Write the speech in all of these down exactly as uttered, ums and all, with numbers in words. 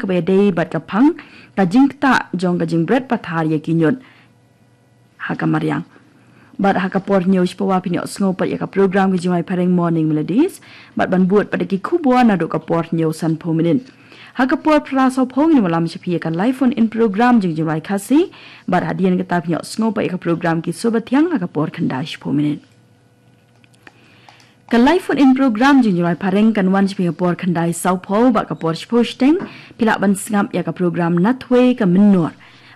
kaba ïadei bad ka phang, ka jingktah jong ka jingbret pathar ïa ki ñiut ha ka mariang. Bad ha ka por hynñiew shiphew phin ïohsngew pat ïa ka program ka jingrwai phareng Morning Melodies, bad ban bud pat da ki khubor naduh ka por hynñiew sanphew minit. Ha ka por phra sawphew ngin wallam sha phi ïa ka live phone in program jong ka jingrwai Khasi, bad hadien kata phin ïohsngew pat ïa ka program Ki Sur Bathiang ha ka por khyndai shiphew minit. Ka live phone in program jong ka jingrwai phareng kan wan sha phi ha ka por khyndai sawphew bad ka por shiphew shiteng, phi lah ban sngap ïa ka program Nathwei ka Mynnor,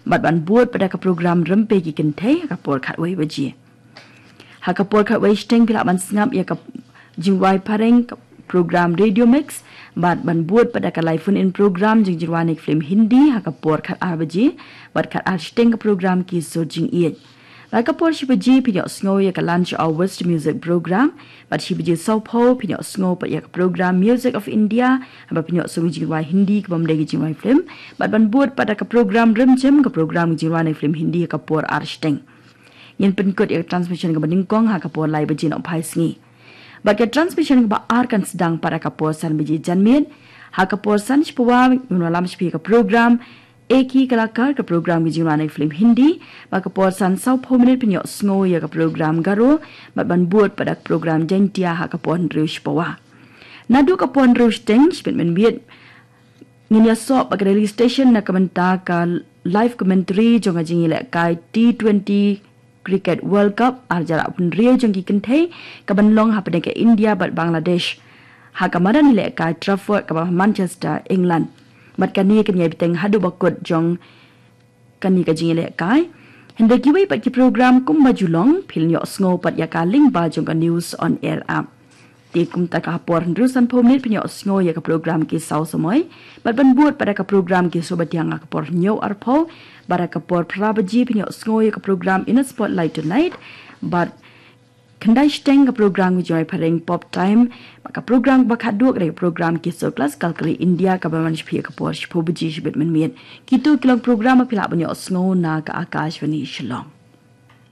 bad ban bud pat da ka program Rympei ki Kynthei ha ka por khatwei baje. Ha ka por khatwei shiteng phi lah ban sngap ïa ka jingrwai phareng ka program Radio Mix, bad ban bud pat da ka live phone in program jong ka jingrwai ne ka film Hindi ha ka por khatar baje, bad khatar shiteng ka program Ki Sur Jingïeit. Bad ka por shi baje phin ïohsngew ïa ka Lunch Hour West Music Program, bad shi baje sawphew phin ïohsngew pat ïa ka program Music of India, bad phin ïohsngew jingrwai Hindi kaba ym dei ka jingrwai film, bad ban bud pat da ka program Rimjim, ka program jingrwai ne ka film Hindi ha ka por ar shiteng. Ngin pynkut ïa ka transmission kaba nyngkong ha ka por lai baje nohphai sngi. Bad ka transmission kaba ar kan sdang pat ha ka por san baje janmiet. Ha ka por san shiphew ngin wallam sha phi ïa ka program Ek Hi Kalakar, ka program ka jingrwai ne ka film Hindi, bad ka por san sawphew minit phin ïohsngew ïa ka program Garo, bad ban bud pat da ka program Jaintia ha ka por hynriew shiphew. Naduh ka por hynriew shiteng, shibit mynmiet, ngin ïasoh bad ka Delhi Station na ka bynta ka live commentary jong ka jingïalehkai T twenty Cricket World Cup ar hajar arphew hynriew jong ki kynthei, kaban long hapdeng ka India bad Bangladesh ha ka madan ïalehkai Trafford kaba ha Manchester, England. Bad kane kan ïai bteng haduh ba kut jong kane ka jingïalehkai. Hynrei kiwei pat ki program kumba ju long, phin ïohsngew pat ïa ka lyngba jong ka News on Air app. Te kumta ha ka por hynriew sanphew minit phin ïohsngew ïa ka program Ki Saw Samoi, bad ban bud pat da ka program Ki Sur Bathiang ha ka por hynñiew arphew, bad ha ka por phra baje phin ïohsngew ïa ka program In a Spotlight Tonight, bad khyndai shiteng ka program ka jingrwai phareng Pop Time, bad ka program kaba khatduh ka dei ka program Ki Sur Classical Career India, kaban wan sha phi ha ka por shiphew baje shibit mynmiet. Kito ki long program ba phi lah ban ïohsngew na ka Akashvani Shillong.